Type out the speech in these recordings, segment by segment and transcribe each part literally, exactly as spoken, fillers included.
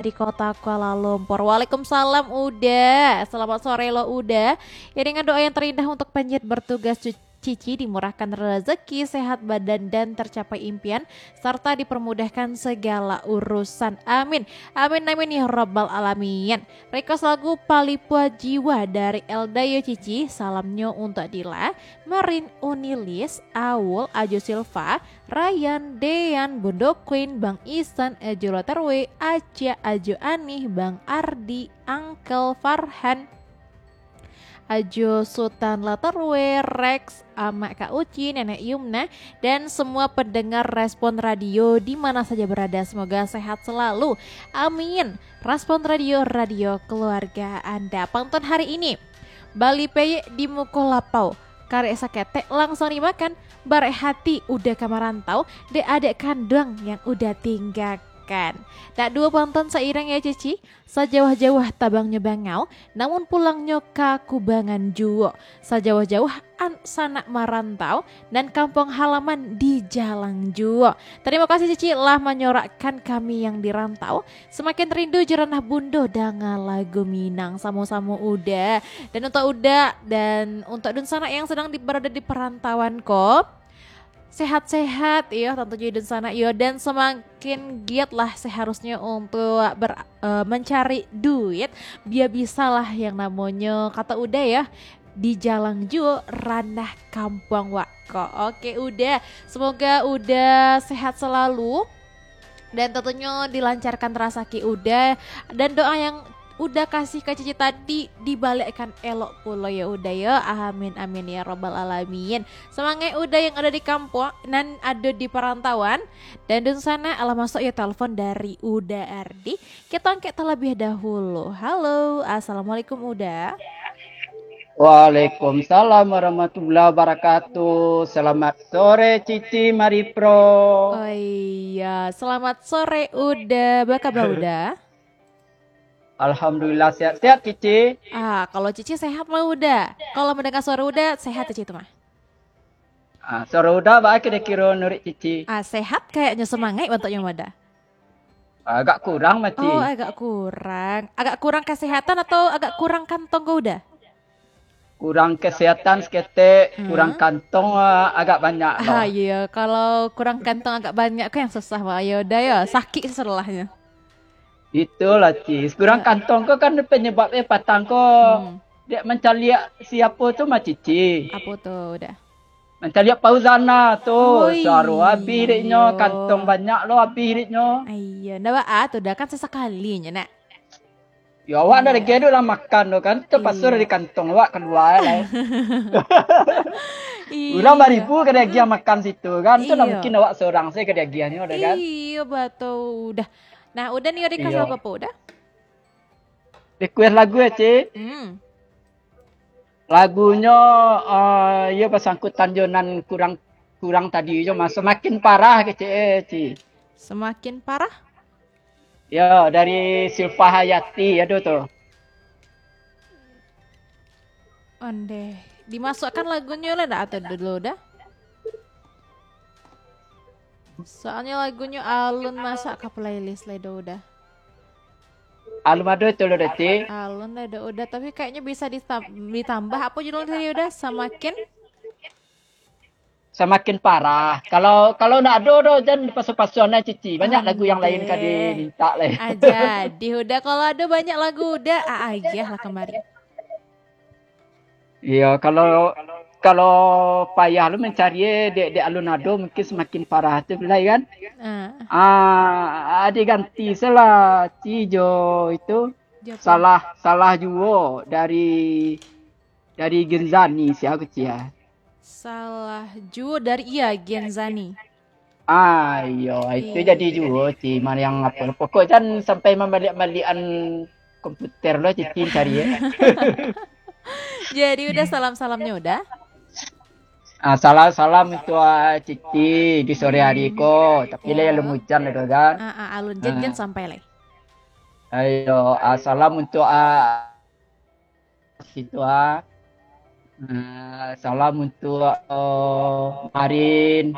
di kota Kuala Lumpur. Waalaikumsalam, Uda. Selamat sore lo, Uda. Ya, dengan doa yang terindah untuk penyiar bertugas, Cu-, Cici, dimurahkan rezeki, sehat badan, dan tercapai impian, serta dipermudahkan segala urusan. Amin. Amin, amin, ya rabbal alamin. Request lagu Palipua Jiwa dari Elda yo, Cici. Salamnyo untuk Dila, Marin, Unilis, Awul, Ajo Silva, Ryan, Dean, Bundo Queen, Bang Isan, Ajo Latarwe, Acia, Ajo Anih, Bang Ardi, Uncle Farhan, Ajo Sultan Latarwe, Rex, Amak Kak Uci, Nenek Yumna, dan semua pendengar Respon Radio di mana saja berada. Semoga sehat selalu. Amin. Respon Radio, radio keluarga Anda. Pantun hari ini, bali peyek di muko lapau, karek saketek langsung dimakan, barek hati Uda ka marantau, dek adek kanduang yang Uda tinggakan. Nak duo pantun sairing ya, Cici. Sajauah-jauah tabangnyo bangau, namun pulangnyo ka kubangan juo. Sajauah-jauah an-, sanak marantau, nan kampuang halaman di jalang juo. Tarimo kasih, Cici, lah manyorakkan kami yang di rantau. Semakin rindu jo ranah bundo, danga lagu Minang samo-samo Uda. Dan untuk Uda dan untuk dunsanak yang sedang di, berada di perantauan ko, sehat-sehat, iyo, tantunyo dunsanak, iyo, dan semakin giat lah seharusnya untuk ber-, eh, mencari duit, biar bisalah yang namonyo, kata Uda ya, di jalang juo ranah kampuang wak ko. Oke, Uda, semoga Uda sehat selalu. Dan tentunyo dilancarkan rasaki Uda, dan doa yang Uda kasih ka Cici tadi dibalekkan elok pulo ya, Uda ya. Amin, amin ya rabbal alamin. Semangat Uda yang ada di kampuang, nan ada di perantauan. Dan dunsanak, alah masuk ya telepon dari Uda Ardi. Kita angkat terlebih dahulu. Halo, assalamualaikum, Uda. Waalaikumsalam warahmatullahi wabarakatuh. Selamat sore, Cici Maripro. Oh iya, selamat sore, Uda. Apa kabar, Uda? Alhamdulillah, sehat-sehat, Cici. Ah, kalau Cici sehat lah, Uda. Kalau mendengar suara Uda, sehat Cici itu mah. Ah, suara Uda baa kiro-kiro nuruik Cici? Ah, sehat kayaknya, semangat bantuaknya, Uda. Agak kurang, Maci. Oh, agak kurang. Agak kurang kesehatan atau agak kurang kantong ko, Uda? Kurang kesehatan saketek, hmm, kurang kantong, ah, agak banyak lo. Ah, iya. Kalau kurang kantong agak banyak ko yang susah, Mak. Ya udah ya, sakik setelahnya. Itulah, Ci. Kurang, ah, kantong ko kan penyebab, eh, patang ko. Hmm. Dek mancaliak siapo tu mah, Cici. Apo tu, Uda? Mancaliak Fauzana tu. Oi, suaro abih deknyo, iyo. Kantong banyak lo abih deknyo. Iya, ndak baa tu, Uda, kan sasakali nyo, nak. Yo, awak ndak, iya, lagi ado lah makan tu kan. Terpaksa, iya, dari kantong awak kalua lah. Iya. Urang baribu ka diagiah makan situ kan. Tu ndak, iya, mungkin awak sorang sajo ka diagiahnyo, Uda, kan. Iya, batul, Uda. Nah, Uda ni ado, iya, kasih apa, Uda? Request lagu ya, Ci? Hmm. Lagunyo, eh, iyo basangkutan jo nan kurang, kurang tadi jo mah, Semakin Parah kecek, eh, Ci. Semakin Parah? Yo, dari Silva Hayati, ado tu. Ondeh. Dimasukkan lagunyo lah dak atau dulu dah? Soalnya lagunyo alun masuk ke playlist lah, Uda. Alun ado tu lo, Dati. Alun lah, Uda, Uda. Tapi kayaknya bisa ditam-, ditambah. Apa judulnya tadi, Uda? Semakin? Semakin Parah. Kalau, kalau ndak ado doh, jan dipasu-pasu anai, Cici. Banyak lagu yang lain ka diminta lai. Ah, jadi, Uda, kalau ado banyak lagu, Uda, ah, agiah lah kamari. Iyo, kalau, kalau payah lo mancari, eh, dek, dek alun ado, mungkin Semakin Parah tu lai kan. Ah. Ah, diganti salah, Ci, jo itu. Jo apo? Salah, Salah Juo dari, dari Genzani, sia ko, Ci, ah. Salah Juo dari, iya, Genzani. Ah, iyo, itu jadi juo, Ci, mariang apo. Pokok jan sampai mambaliak-baliakan komputer lo, Cici cari, ya. Jadi, Uda, salam-salamnya, Uda. Ah, salam-salam untuk, ah, Cici di sore hari ko. Tapi lah, iyo, alun ujan lah tu kan. Ah, ah, alun, jan, jan sampai lai. Ayo, ah, salam untuk, ah, situ, ah. Eh, salam untuk, eh, Marin.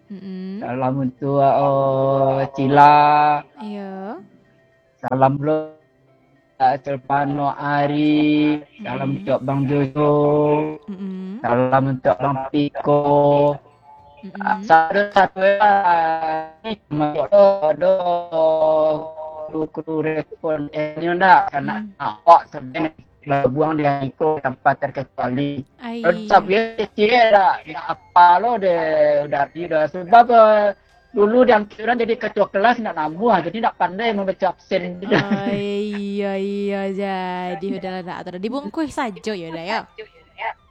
Mm-mm. Salam untuk, eh, Cila. Iyo. Salam lo, Silvano Ari, salam Mm-mm. untuk Bang Jojo, Mm-mm. salam untuk Bang Piko. Mm-mm. Satu-satu lah. Ni cuma do, do kru-kru respon eh, ni ndak, karena Hmm. awak sebenarnya babuang di iko tanpa terkecuali. Ai. Tapi kecil dak, dak apa lo deh, udah di dah. Sebab eh, dulu di angkiran jadi ketua kelas ndak namuah, jadi ndak pandai membaca absen. Oh, iya, iya, jadi udahlah, dak ada. Dibungkus sajo ya, udah ya.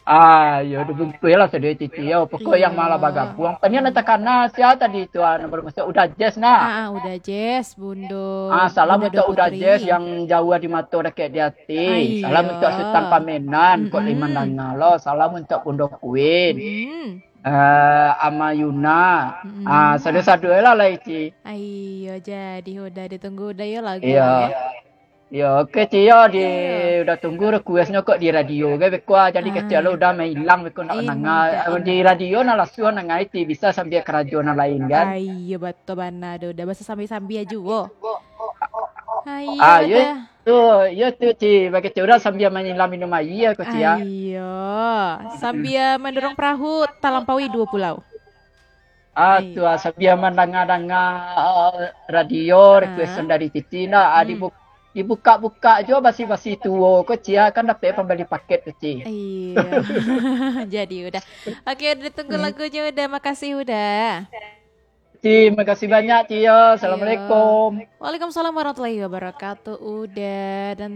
Ah, yo dibungkus lah sudah cici yo. Pokok yang Iya. malah bagabuang. Tanya nak takana sia tadi tu, ah, nomor masuk Uda Jess nah. Ah, ah, Uda Jess, Bundo. Ah, salam Bundo untuk Uda Putri. Jess yang jauh di mato dekat di hati. Ai, Salam iya. Untuk Sultan Pamenan, kok Mm-mm. Liman Danga lo. Salam untuk Bundo Queen. Hmm. Eh, Ama Yuna. Mm-mm. Ah, sadu-sadu lah lah Ici. Ai, iya, jadi udah ditunggu udah ya lagu Iya. ya. Yo, oke Ci yo, di Iya. Uda tunggu requestnyo kok di radio ge beko ah, jadi Ah. Kecil lo Uda mailang beko nak Ai, nanga. mantap, Di radio nah langsung nanga Ici bisa sambil karajo nan lain kan. Ai, iya, betul bana tu. Udah basa sambil-sambil aja wo. Ai, Ah, iya yo dah. Tu, yo tu Ci, bagi Ci Uda sambil mailang minum aia ko Ci ya. Ai, iya. Sambil mendorong perahu talampaui dua pulau. Ah, Ai. Tu ah, sambil mandanga-danga ah, radio Ah. requestan dari Cici nah, ah, Hmm. dibu- dibuka-buka jo basi-basi tuo ko Ci ah, kan dapek pambali paket ko Ci. Iya. Jadi udah. Oke, udah tunggu Hmm. lagunya udah. Makasih udah. Ci, makasih banyak Ci yo. Assalamualaikum. Waalaikumsalam warahmatullahi wabarakatuh. Udah dan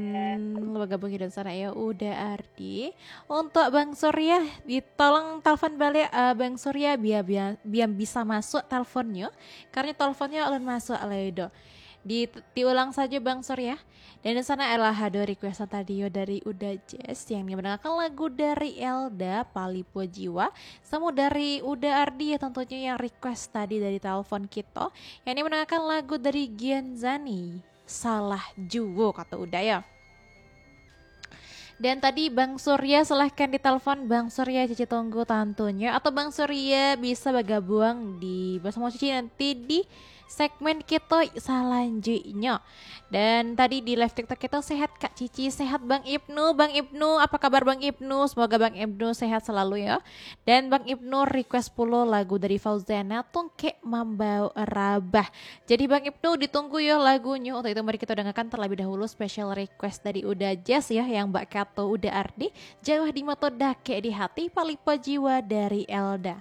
bergabung di sana ya, Uda Ardi. Untuk Bang Surya, ditolong telepon balik eh, Bang Surya biar biar biar bisa masuk teleponnya. Karena teleponnya alun masuk alai do. Di diulang saja Bang Surya. Dan di sana adalah hado requestan tadi yo dari Uda Jess yang mendengarkan lagu dari Elda Palipo Jiwa. Samo dari Uda Ardi ya tentunya yang request tadi dari telepon kita. Yang ini mendengarkan lagu dari Gianzani. Salah juo kata Uda ya. Dan tadi Bang Surya silahkan ditelepon Bang Surya Cici tunggu tentunya. Atau Bang Surya bisa bergabung di bersama Cici nanti di segmen kita selanjutnya. Dan tadi di live TikTok kita sehat Kak Cici, sehat Bang Ibnu. Bang Ibnu, apa kabar Bang Ibnu? Semoga Bang Ibnu sehat selalu ya. Dan Bang Ibnu request pulo lagu dari Fauzana, Tungkek Mambao Rabah. Jadi Bang Ibnu ditunggu ya lagunya. Untuk itu mari kita dengarkan terlebih dahulu special request dari Uda Jess ya yang bak kato Uda Ardi, Jauah di Mato Dakek di Hati, Palipo Jiwa dari Elda.